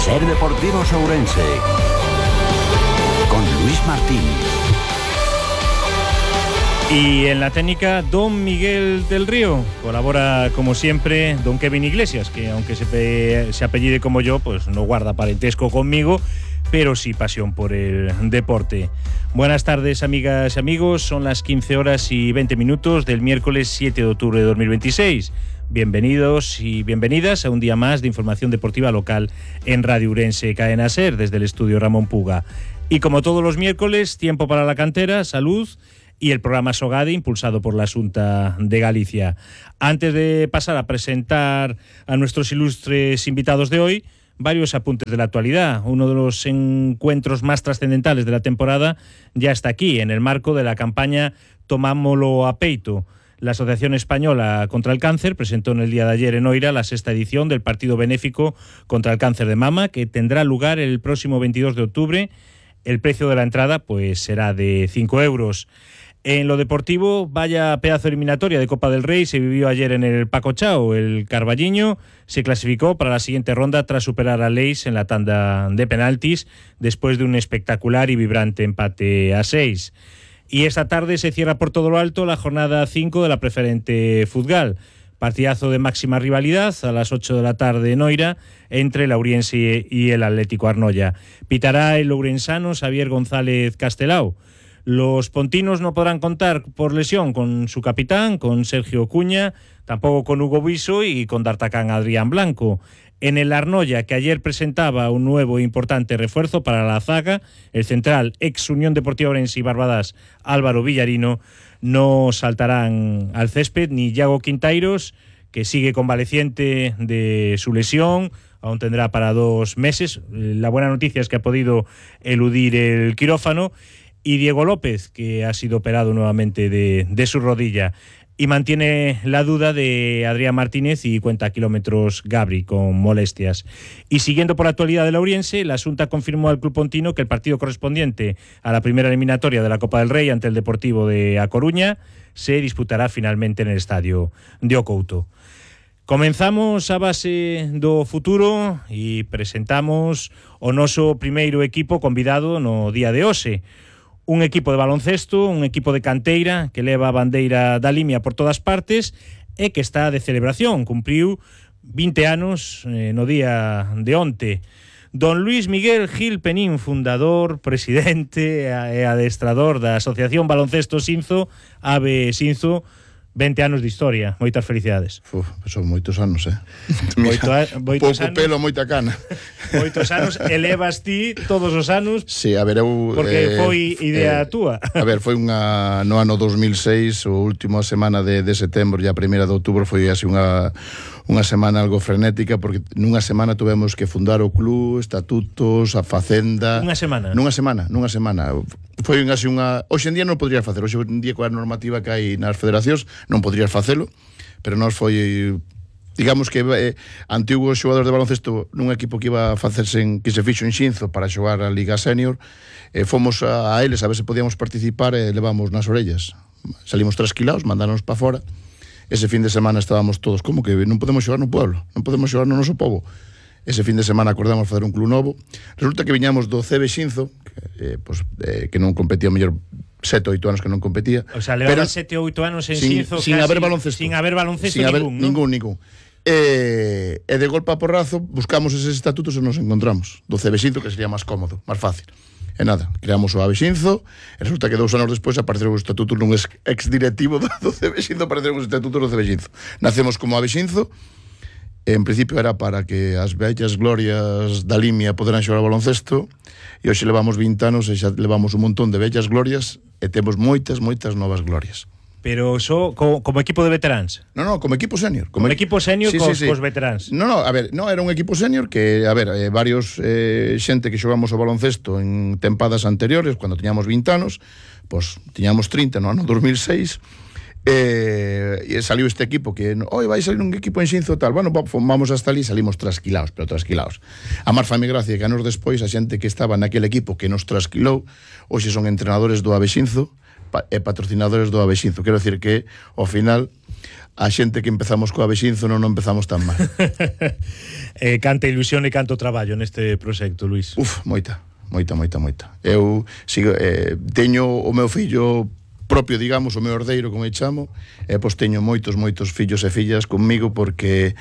Ser Deportivos Ourense con Luis Martín. Y en la técnica, don Miguel del Río. Colabora, como siempre, don Kevin Iglesias, que aunque se apellide como yo, pues no guarda parentesco conmigo, pero sí pasión por el deporte. Buenas tardes, amigas y amigos. Son las 15:20 del miércoles 7 de octubre de 2026. Bienvenidos y bienvenidas a un día más de información deportiva local en Radio Ourense Cadena Ser, desde el estudio Ramón Puga. Y como todos los miércoles, tiempo para la cantera, salud y el programa Sogade, impulsado por la Xunta de Galicia. Antes de pasar a presentar a nuestros ilustres invitados de hoy, varios apuntes de la actualidad. Uno de los encuentros más trascendentales de la temporada ya está aquí, en el marco de la campaña Tomámolo a peito. La Asociación Española contra el Cáncer presentó en el día de ayer en Oira la 6ª edición del partido benéfico contra el cáncer de mama, que tendrá lugar el próximo 22 de octubre. El precio de la entrada pues será de 5 euros. En lo deportivo, vaya pedazo eliminatoria de Copa del Rey se vivió ayer en el Paco Chao. El Carballiño se clasificó para la siguiente ronda tras superar a Leis en la tanda de penaltis después de un espectacular y vibrante empate a 6. Y esta tarde se cierra por todo lo alto la jornada 5 de la Preferente Futgal. Partidazo de máxima rivalidad a las 8 de la tarde en Oira entre el Ouriense y el Atlético Arnoia. Pitará el ourensano Xavier González Castelao. Los pontinos no podrán contar por lesión con su capitán, con Sergio Cuña, tampoco con Hugo Viso y con D'Artacán Adrián Blanco. En el Arnoia, que ayer presentaba un nuevo e importante refuerzo para la zaga, el central ex Unión Deportiva Ourense y Barbadas Álvaro Villarino, no saltarán al césped ni Iago Quintairos, que sigue convaleciente de su lesión, aún tendrá para 2 meses. La buena noticia es que ha podido eludir el quirófano. Y Diego López, que ha sido operado nuevamente de su rodilla. Y mantiene la duda de Adrián Martínez y cuenta kilómetros Gabri con molestias. Y siguiendo por la actualidad de la Ouriense, la Xunta confirmó al club pontino que el partido correspondiente a la primera eliminatoria de la Copa del Rey ante el Deportivo de A Coruña se disputará finalmente en el estadio de O Couto. Comenzamos a base do futuro e presentamos o noso primeiro equipo convidado no día de hoxe. Un equipo de baloncesto, un equipo de canteira que leva a bandeira da Limia por todas partes e que está de celebración. Cumpriu 20 anos no día de onte. Don Luis Miguel Gil Penín, fundador, presidente e adestrador da Asociación Baloncesto Sinzo, AVE Sinzo. 20 anos de historia, moitas felicidades. Son moitos anos, Moitos pouco pelo, moita cana. Moitos anos, elevas ti todos os anos. Sí, a ver, eu... Porque foi idea túa. A ver, foi no ano 2006, o último semana de setembro e a primeira de outubro foi así unha semana algo frenética, porque nunha semana tuvemos que fundar o club, estatutos, a facenda... Nunha semana? Nunha semana. Foi así unha... Hoxe en día non podrías facer, hoxe en día coa normativa que hai nas federacións non podrías facelo, pero nós foi... Digamos que antigos xogadores de baloncesto nun equipo que iba a facerse que se fixo en Xinzo para xogar a Liga Senior, fomos a eles a ver se podíamos participar e levamos nas orellas. Salimos trasquilados, mandáronos para fora. Ese fin de semana estábamos todos, como que non podemos xogar no pueblo, non podemos xogar no noso pobo. Ese fin de semana acordamos facer un club novo. Resulta que viñamos do CB Xinzo, que non competía mellor 7 ou 8 anos que non competía. O sea, levaba 7 ou 8 anos en Xinzo sin haber baloncesto. Sin haber baloncesto ningún. E de golpe a porrazo buscamos eses estatutos e nos encontramos do CB Xinzo, que sería máis cómodo, máis fácil. E nada, creamos o AVE Xinzo e resulta que 2 anos despois apareceron os estatutos nun ex-directivo do CB Xinzo, apareceron os estatutos do CB Xinzo. Nacemos como AVE Xinzo. En principio era para que as vellas glorias da Limia poderan xogar ao baloncesto, e hoxe levamos 20 anos e xa levamos un montón de vellas glorias e temos moitas novas glorias. Pero só como equipo de veteráns? No, como equipo senior. Como equipo senior sí. Cos veteráns? No, a ver, era un equipo senior que, a ver, varios xente que xogamos o baloncesto en tempadas anteriores, cando tiñamos 20 anos, pois tiñamos 30 no ano 2006, e saliu este equipo que, vai salir un equipo en Xinzo tal, bueno, vamos hasta ali, salimos trasquilados. A mar fame gracia que anos despois a xente que estaba naquele equipo que nos trasquilou, hoxe son entrenadores do AVE Xinzo e patrocinadores do AVE Xinzo. Quero decir que, ao final, a xente que empezamos coa Vexinzo non empezamos tan mal. Canta ilusión e canto traballo neste proxecto, Luís. Moita. Eu sigo, teño o meu fillo propio, digamos, o meu herdeiro, como eu chamo, pois teño moitos fillos e fillas comigo, porque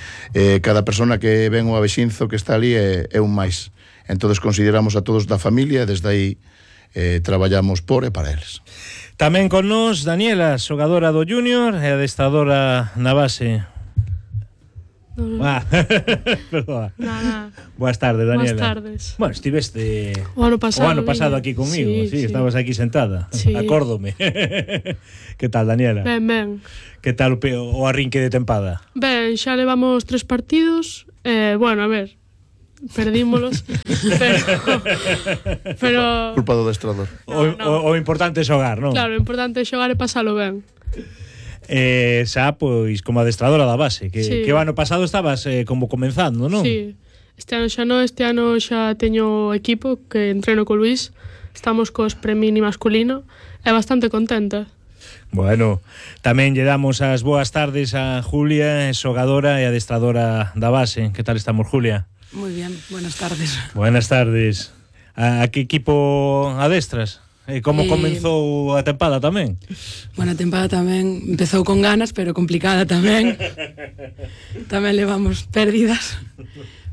cada persona que ven o Avexinzo que está ali é un máis. Entonces consideramos a todos da familia e desde aí traballamos por e para eles. Tamén con nós Daniela, xogadora do Júnior e adestradora na base. Perdón. Buenas tardes, Daniela. Buenas tardes. Bueno, estiveste o ano pasado aquí conmigo, sí, estabas aquí sentada. Sí. Acórdome. Que tal, Daniela? Ben. Que tal o arrinque de tempada? Ben, xa levamos 3 partidos. Bueno, a ver, perdímolos. pero Culpa do adestrador. O importante é xogar, non? Claro, o importante é xogar e pasalo ben. Xa, pois, como adestradora da base, que o ano pasado estabas como comenzando, non? Sí, este ano xa non, este ano xa teño equipo que entreno co Luís, estamos cos pre-mini masculino, e bastante contenta. Bueno, tamén lle damos as boas tardes a Julia, xogadora e adestradora da base. Que tal estamos, Julia? Muy bien, buenas tardes. Buenas tardes. A que equipo adestras? Como comenzou a tempada tamén? Bueno, a tempada tamén empezou con ganas, pero complicada tamén. Tamén levamos pérdidas.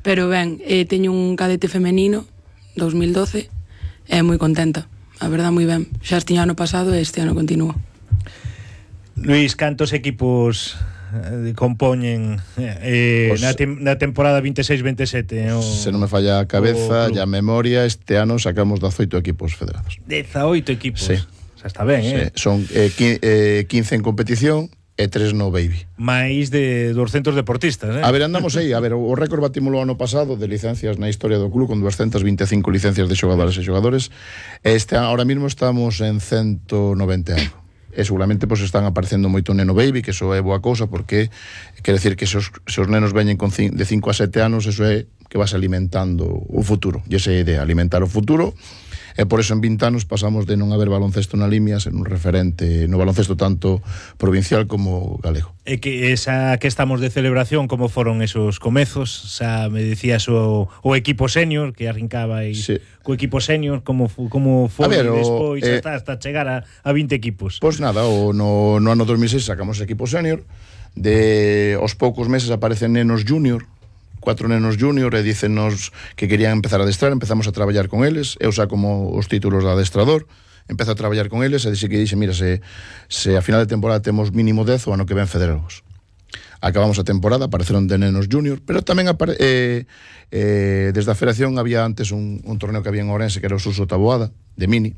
Pero ben, teño un cadete femenino 2012 e moi contenta. A verdad, moi ben. Xa estiña ano pasado e este ano continúo. Luís, cantos equipos compoñen na temporada 26-27? Se non me falla a cabeza e a memoria, este ano sacamos 18 equipos federados. 18 equipos? Sí. Xa está ben, Son 15 en competición e 3 no baby. Máis de 200 deportistas, A ver, andamos aí. A ver, o récord batímolo ano pasado de licencias na historia do club con 225 licencias de xogadores e xogadores. Ahora mismo estamos en 190 algo. E seguramente pois están aparecendo moito neno baby, que eso é boa cousa, porque quere decir que se os nenos veñen de 5 a 7 anos, eso é que vas alimentando o futuro. E esa é a idea, alimentar o futuro. E por eso en 20 anos pasamos de non haber baloncesto na Limia a ser un referente no baloncesto tanto provincial como galego. E que esa que estamos de celebración, como foron esos comezos? Xa me decías o equipo senior que arrincaba aí, sí. Co equipo senior, como foi despois hasta chegar a 20 equipos? Pois nada, no ano 2006 sacamos equipo senior, aos poucos meses aparecen nenos junior, 4 nenos junior, e dícenos que querían empezar a adestrar. Empezamos a traballar con eles, eu xa como os títulos de adestrador, empezo a traballar con eles, e dixe, mira, se a final de temporada temos mínimo 10, o ano que ven federamos. Acabamos a temporada, apareceron de nenos junior, pero tamén desde a federación había antes un torneo que había en Ourense, que era o Suso Taboada, de mini,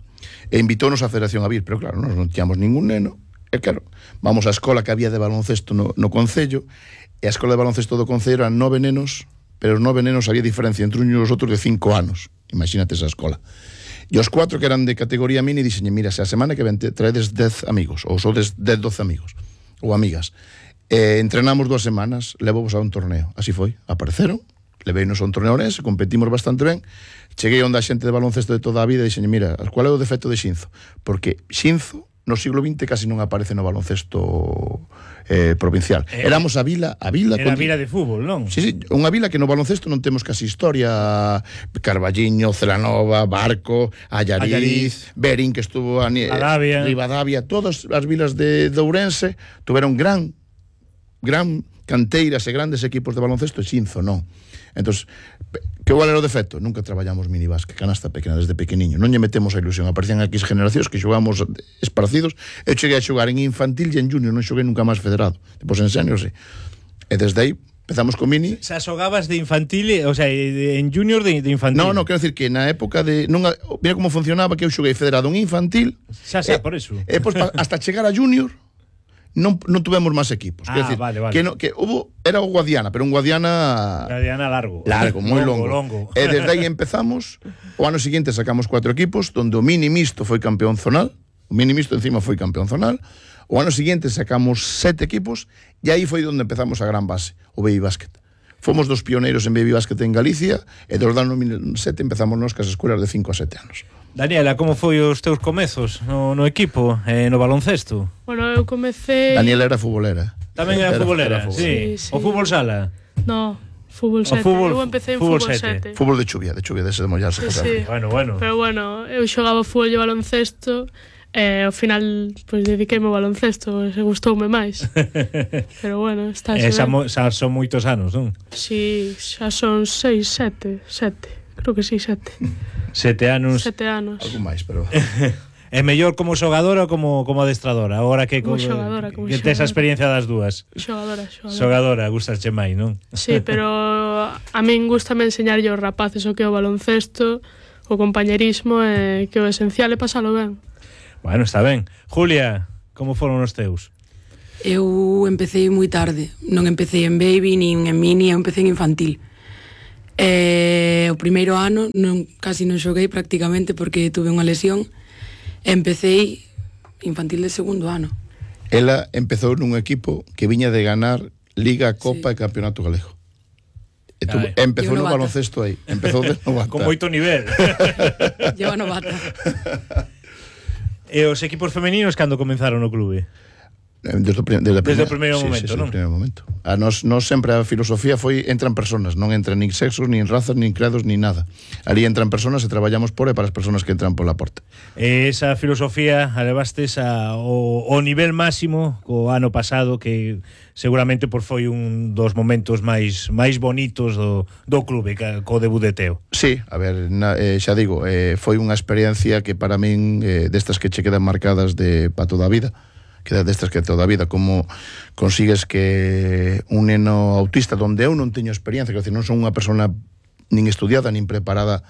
e invitónos a federación a vir, pero claro, nós non tiñamos ningún neno, e claro, vamos á escola que había de baloncesto no concello, e a escola de baloncesto do concello eran 9 nenos, pero os 9 nenos había diferencia entre uns e os outros de 5 anos. Imagínate esa escola. E os 4 que eran de categoría mini dixen, mira, se a semana que ven traedes 10 amigos, ou sodes 10-12 amigos, ou amigas. Entrenamos 2 semanas, levovos a un torneo. Así foi, apareceron, leveinos a un torneo orense, competimos bastante ben, cheguei onde a xente de baloncesto de toda a vida e dixen, mira, qual é o defecto de Xinzo? Porque Xinzo no siglo XX casi non aparece no baloncesto provincial. Éramos a vila... Era a vila de fútbol, non? Sí, unha vila que no baloncesto non temos casi historia. Carballiño, Celanova, Barco, Allariz, Berín, que estuvo Rivadavia, todas as vilas de Ourense tuveron gran canteiras e grandes equipos de baloncesto, e Xinzo non. Entón, que igual era o defecto? Nunca traballamos minibásquet, canasta pequena desde pequeniño, non lle metemos a ilusión. Aparecían aquí generacións que xogamos esparcidos. Eu cheguei a xogar en infantil e en junior, non xoguei nunca máis federado. Depois en senior, sí. E desde aí empezamos con mini. Xa xogabas de infantil, o sea, en junior de infantil. No, quero decir que na época de mira como funcionaba, que eu xoguei federado en infantil. Xa, por eso. E pois hasta chegar a junior non tuvemos máis equipos. Decir, vale. Que era o Guadiana, pero un Guadiana largo, moi longo. E desde aí empezamos. O ano seguinte sacamos 4 equipos, donde o mini mixto foi campeón zonal. O mini mixto encima foi campeón zonal. O ano seguinte sacamos 7 equipos, e aí foi onde empezamos a gran base, o baby basket. Fomos dos pioneiros en baby basket en Galicia, e dos anos 2007 empezamos nos cas escuelas de 5 a 7 anos. Daniela, como foi os teus comezos no equipo, no baloncesto? Bueno, eu comecei... Daniela era futbolera. Tamén era futbolera, fútbol. sí. Sí, sí. O fútbol sala. No, fútbol 7. Eu empecé en fútbol fútbol 7. 7. Fútbol de chuvia, dese de mollarse. Sí, sí. Bueno. Pero bueno, eu xogaba fútbol e baloncesto e ao final pois dediqueime ao baloncesto, se gustoume máis. Pero bueno, está Xa son moitos anos, non? Si, xa son 6, 7. Creo que sí, 7. 7 anos. 7 anos. Algo máis, pero... É mellor como xogadora ou como adestradora? Agora que Como xogadora, como que tes a xogadora. experiencia das dúas. Xogadora. Gustasche máis, non? Sí, pero a min gustame enseñarlle aos rapaces o que é o baloncesto, o compañerismo e que o esencial é pasalo ben. Bueno, está ben. Julia, como foron os teus? Eu empecé moi tarde. Non empecé en baby, nin en mini, eu empecé en infantil. O primeiro ano casi non xoguei prácticamente porque tuve unha lesión. Empecé infantil de segundo ano. Ela empezou nun equipo que viña de ganar Liga, Copa e Campeonato Galego. Empezou no baloncesto aí. Empezou de novata. Con moito nivel. Lleva novata. E os equipos femeninos cando comenzaron no clube? Desde o primeiro momento, non? Desde o primeiro momento. A nos sempre a filosofía foi entran personas, non entran nin sexos, nin razas, nin credos, nin nada. Ali entran personas e traballamos por e para as personas que entran pola porta. Esa filosofía a levastes ao nivel máximo o ano pasado, que seguramente foi un dos momentos máis bonitos do clube, co debut de Teo. Sí, a ver, xa digo, foi unha experiencia que para min destas que che quedan marcadas para toda a vida, queda destas que toda a vida, como consigues que un neno autista donde eu non teño experiencia, que non son unha persona nin estudiada, nin preparada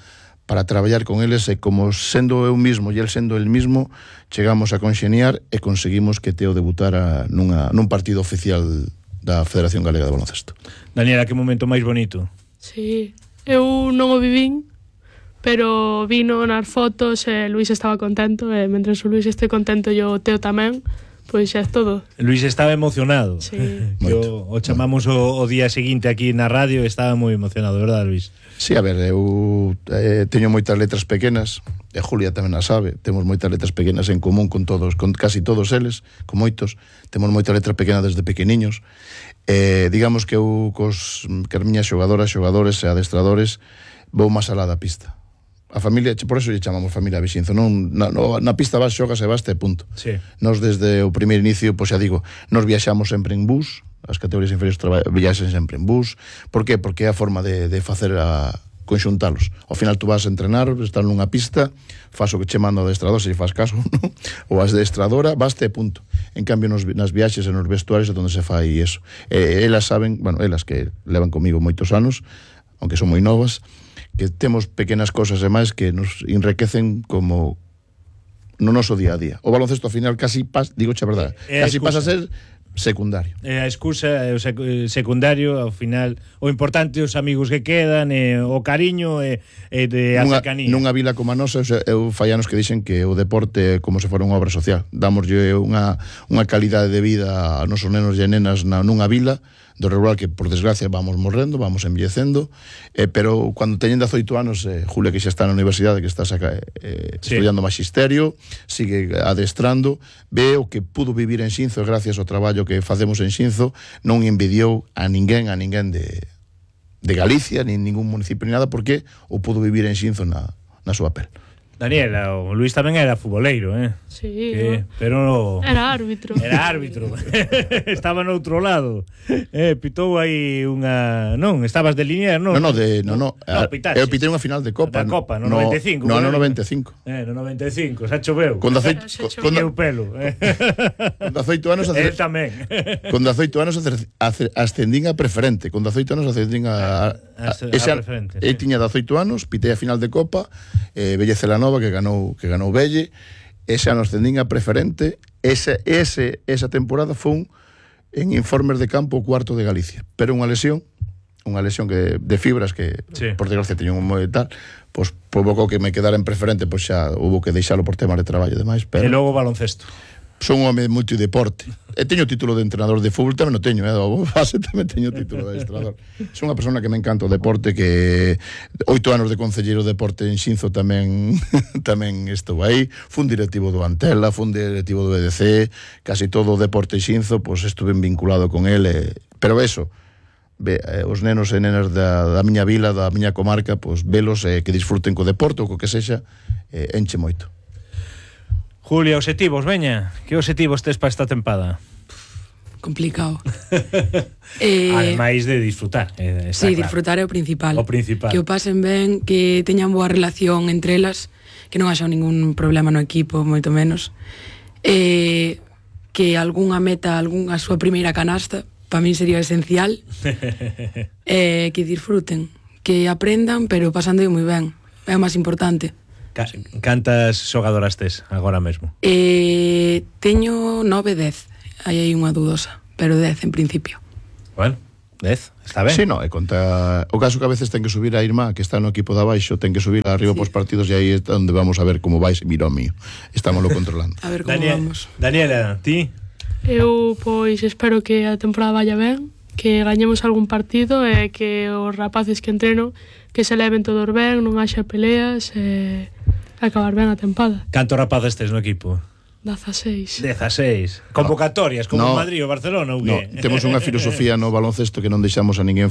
para traballar con eles, e como sendo eu mismo e el sendo el mismo, chegamos a conxeniar e conseguimos que Teo debutara nun partido oficial da Federación Galega de Baloncesto. Daniela, que momento máis bonito? Sí, eu non o vivín, pero vino nas fotos e Luís estaba contento, e mentre o Luís este contento e o Teo tamén, pois xa é todo. Luís estaba emocionado. Sí. O chamamos o día seguinte aquí na radio e estaba moi emocionado, verdad, Luís? Sí, a ver, eu teño moitas letras pequenas, e Julia tamén a sabe, temos moitas letras pequenas en común con casi todos eles, con moitos, temos moita letra pequena desde pequeniños. Digamos que eu cos miñas xogadoras, xogadores e adestradores vou máis alá da pista. A familia, por eso lle chamamos familia Vixinzo, non na pista vas, xogas e baste, punto. Sí. Nos desde o primeiro inicio, pois xa digo, nos viaxamos sempre en bus, as categorías inferiores viaxen sempre en bus. Por qué? Porque é a forma de facer conxuntalos. Ao final tú vas a entrenar, estás nunha pista, faz o que che manda o adestrador, se faz caso, non? Ou a adestradora, baste, punto. En cambio, nas viaxes e nos vestuarios é onde se fai iso. Elas saben, bueno, elas que levan comigo moitos anos, aunque son moi novas, que temos pequenas cosas e máis que nos enriquecen como no noso día a día. O baloncesto ao final casi digo a verdade, casi pasa a ser secundario. A excusa é o secundario, ao final o importante os amigos que quedan, o cariño e de a cercanía. Nunha vila como a nosa, eu fai anos que dixen que o deporte é como se fora unha obra social. Damoslle unha calidade de vida a nosos nenos e nenas nunha vila do rural que, por desgracia, vamos morrendo, vamos envellecendo, pero cando teñen 18 anos, Julia, que xa está na universidade, que está estudiando magisterio, sigue adestrando, ve o que pudo vivir en Xinzo, e gracias ao traballo que facemos en Xinzo, non envidiou a ninguén de Galicia, nin ningún municipio, ni nada, porque o pudo vivir en Xinzo na súa pel. Daniela, o Luís tamén era futboleiro, Sí, pero era árbitro. Era árbitro. Estaba no outro lado. Pitou aí unha... Non, estabas de línea, non? No, pitaxe. eu pitei unha final de Copa. Da Copa, no 95. No 95. No 95, xa choveu. Con 18 pelo. Con 18 anos El tamén. Con 18 anos ascendín a preferente. Con 18 anos ascendín a preferente. Eu tiña 18 anos, pitei a final de Copa, Velle Celanova que ganou Velle. Ese ano ascendín a preferente. Esa temporada foi en informes de campo o cuarto de Galicia, pero unha lesión que de fibras que, sí, por desgracia teño un moi tal, pois provocou que me quedara en preferente, pois xa hubo que deixalo por temas de traballo e demais, pero... E logo baloncesto. son un home moito de deporte. E teño título de entrenador de fútbol, tamén o teño, o base tamén teño título de entrenador. Son unha persona que me encanta o deporte, que 8 anos de concelleiro de deporte en Xinzo tamén tamén estou aí. Fun directivo do Antela, fun directivo do EDC, casi todo o deporte Xinzo, pois estuve vinculado con ele, pero eso, os nenos e nenas da miña vila, da miña comarca, pois velos que disfruten co deporte ou co que sexa, enche moito. Julia, obxectivos, veña. Que obxectivos tes para esta tempada? Complicado. Ademais de disfrutar. Sí, claro. Disfrutar é o principal. O principal. Que o pasen ben, que teñan boa relación entre elas, que non haxa ningún problema no equipo, moito menos. Que algunha meta, a súa primeira canasta, para min sería esencial. Que disfruten, que aprendan, pero pasando moi ben. É o máis importante. Cantas xogadoras tes agora mesmo? Teño 9-10. Aí hai unha dudosa, pero 10 en principio. Bueno, 10, está ben. Sí, no, e conta o caso que a veces ten que subir a Irma, que está no equipo de abaixo, ten que subir arriba pos partidos, e aí é onde vamos a ver como vais, mira o mío. Estámoslo controlando. A ver como vamos. Daniela, ti? Eu, pois, espero que a temporada vaya ben, que gañemos algún partido e que os rapaces que entreno que se leven todos ben, non haxa peleas e acabar ben a tempada. Cantos rapaces tes no equipo? 16. 16. Convocatorias, como Madrid ou Barcelona ou que? No, temos unha filosofía no baloncesto que non deixamos a ninguén